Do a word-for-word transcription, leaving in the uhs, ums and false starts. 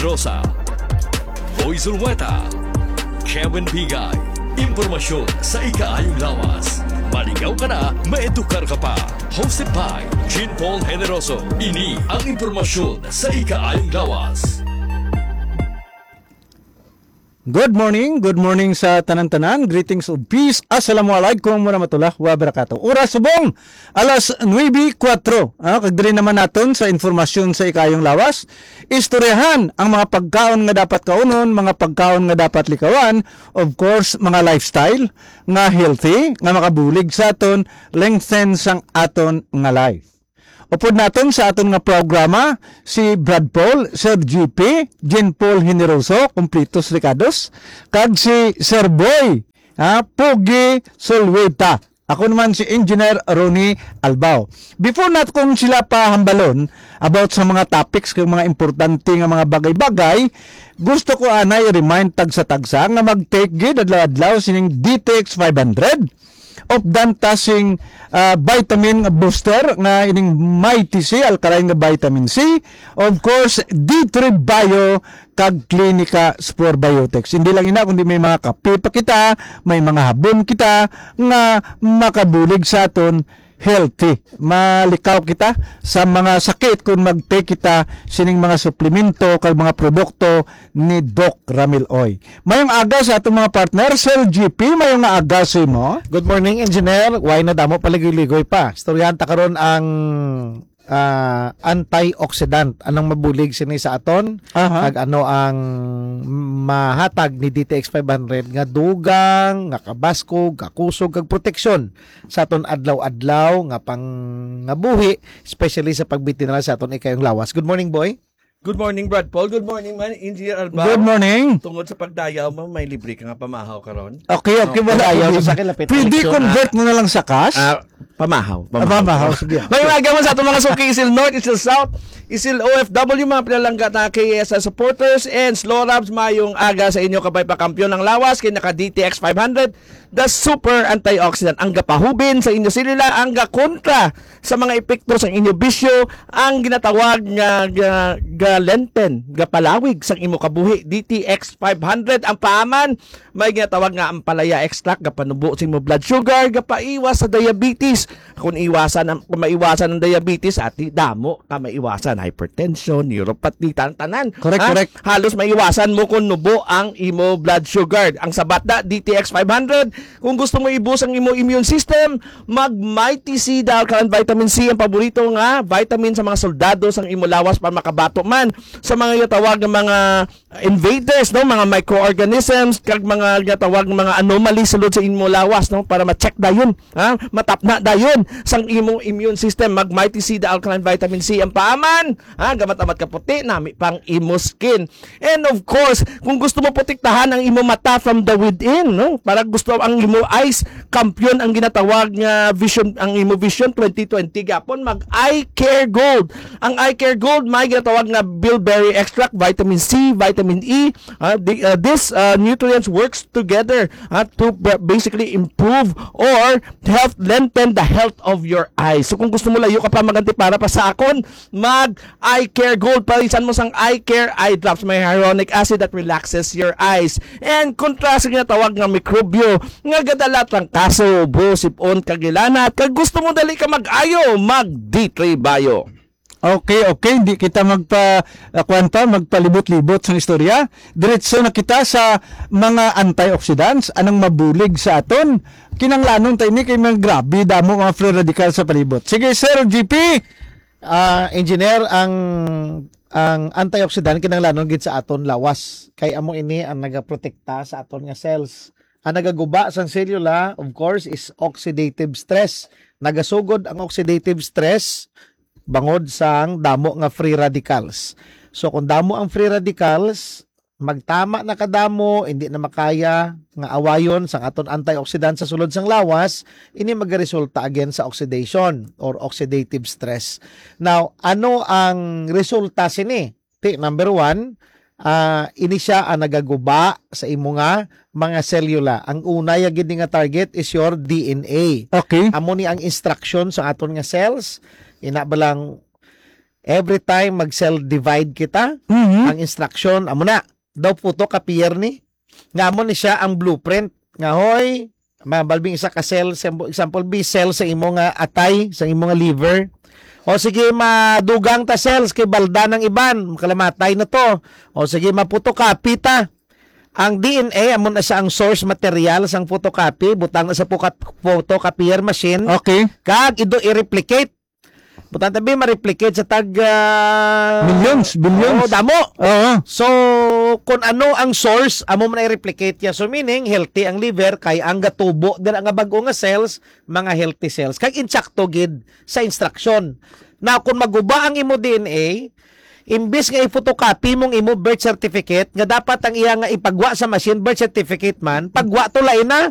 Rosa, Boy Zulweta, Kevin Bigay. Impormasyon sa ikaayong lawas. Maligaw ka na, maedukar ka pa. Hosted by Jean Paul Generoso. Ini ang impormasyon sa ikaayong lawas. Good morning, good morning sa tanan-tanan. Greetings of peace. Assalamualaikum warahmatullahi wabarakatuh. Oras subong alas nuebe kuwatro. Ah, kag diri naman naton sa informasyon sa ikayong lawas. Istoryahan ang mga pagkaon nga dapat kaunon, mga pagkaon nga dapat likawan, of course, mga lifestyle nga healthy, nga makabulig sa aton, lengthen sang aton nga life. Upod naton sa aton nga programa, si Brad Paul, Sir G P, Jean Paul Generoso, Kumplitos Ricados, kag si Sir Boy, ha, Pogi Solweta. Ako naman si Engineer Ronnie Albao. Before naton sila pahambalon about sa mga topics kag mga importante nga mga bagay-bagay, gusto ko anay remind tagsa-tagsa nga mag-take gid adlaw-adlaw sining D T X five hundred of Dantasing ah, vitamin booster nga ining Mighty C, alkaline nga vitamin C. Of course, D three Bio kag Clinica Spore Biotics. Hindi lang ina, kundi may mga kape pa kita, may mga habon kita nga makabulig sa aton healthy. Malikaw kita sa mga sakit kung mag-take kita sining mga suplemento kag mga produkto ni Doc Ramil Oy. Mayong aga sa atong mga partner, Sir G P, mayong aga sa imo. Good morning, Engineer. Why na damo paligoy-ligoy pa? Istoryahan ta karon ang ah, antioxidant. Anong mabulig sini sa aton? Aha. Kag ano ang mahatag ni D T X five hundred nga dugang, nga kabaskog, kakusog, kag proteksyon sa aton adlaw-adlaw nga pangabuhi, especially sa pagbitinal sa aton ikayong lawas. Good morning, boy. Good morning, Brad Paul. Good morning, man, Engineer Albao. Good morning. Tungod sa pagdayaw mo, may libre ka nga pamahaw karon. Okay, okay, wala Padayaw ko sa din. Akin, lapit Pwede eleksyon, convert ah. Mo na lang sa cash? Ah, pamahaw, Ah, pamahaw. Pamahaw, sige. May aga man sa atong mga suki, Isil North, Isil South, Isil O F W, mga pinalangga na K S S supporters, and Slow Rabs, mayong aga sa inyo, kabay pa kampiyon ang lawas, kay naka D T X five hundred, the super antioxidant, ang gapahubin sa inyo selula, ang gakontra sa mga epekto sang inyo bisyo, ang ginatawag nga ga, galenten, gapalawig sang imo kabuhi, D T X five hundred ang paaman, may ginatawag nga ampalaya extract, gapanubo sa imo blood sugar, gapaiwas sa diabetes. Kung iwasan ang, kung maiwasan ang diabetes, ati damo ka maiwasan, hypertension, neuropathy, tan-, tanan. Correct, Ha? Correct. Halos maiwasan mo kung nubo ang imo blood sugar. Ang sabat na, D T X five hundred, kung gusto mo i-boost ang imo immune system, mag Mighty C, the alkaline vitamin C, ang paborito nga vitamin sa mga soldado sang imo lawas para makabato man sa mga ginatawag nga mga invaders, no, mga microorganisms kag mga ginatawag nga mga anomalies sulod sa imo lawas, no, para ma-check dayon, ha, matapna dayon sang imo immune system. Mag Mighty C, the alkaline vitamin C ang paaman, ha, gamat-amat ka puti, nami pang imo skin. And of course, kung gusto mo protektahan ang imo mata from the within, no? Para gusto ang imo eyes, kampiyon ang ginatawag nga vision, ang imo vision twenty twenty gapon, mag Eye Care Gold. Ang Eye Care Gold may ginatawag nga bilberry extract, vitamin C, vitamin E. Ah, the, ah, this ah, nutrients works together ah, to ba- basically improve or help lengthen the health of your eyes. So kung gusto mo layo ka pa maganti para pa sa akon, mag Eye Care Gold, palisan mo sang Eye Care Eye Drops. May hyaluronic acid that relaxes your eyes. And kontra sa ginatawag nga mikrobyo nga gadala trangkaso, ubo, sipon, kag hilanat. Kag gusto mo dali ka mag-ayo, mag D three Bio. Okay, okay. Hindi kita magpa, ah, kuwan pa, magpalibot-libot sa istorya. Diretso na kita sa mga antioxidants, anong mabulig sa aton. Kinanglanon ta ini kay mga grabe, damo mga free radical sa palibot. Sige, Sir G P. Ah, engineer, ang ang antioxidant kinahanglanon gid sa aton lawas, kay amo ini ang nagaprotekta sa aton nga cells. Ang nagaguba sang selula, of course, is oxidative stress. Nagasugod ang oxidative stress bangod sang damo nga free radicals. So kung damo ang free radicals, magtama na kadamo, hindi na makaya nga awayon sang aton antioxidant sa sulod sang lawas, ini magaresulta again sa oxidation or oxidative stress. Now, ano ang resulta sini? Ti, number one, ah, ini sia ang nagaguba sa imo nga mga selula. Ang una ya gid ni nga target is your D N A. Okay. Amo ni ang instruction sa aton nga cells. Ina ba lang Every time mag-cell divide kita, Mhm. ang instruction, amo na, daw photocopier ni. Nga amo ni siya ang blueprint. Nga, hoy, mabalbing isa ka cell, sa, example, B cell sa imo nga atay, sa imo nga liver. O sige, madugang ta cells kay balda ng iban, makalamatay na to. O sige, ma-photocopy ta. Ang D N A, amo na siya ang source material sang photocopy, butang na sa photo- photocopier machine, Okay. kag ido i-replicate. Butang tabi ma-replicate sa tag ah, Millions, billions. Oo, damo. Oo. So, kung ano ang source, amo man i-replicate niya. So, meaning, healthy ang liver, kay ang gatubo dira nga bag-o nga cells, mga healthy cells. Kag insakto gid sa instruction. Now, kung maguba ang imo D N A, imbis nga i-photocopy mong imo birth certificate nga dapat ang iya nga ipagwa sa machine, birth certificate man, pagwa to lain na.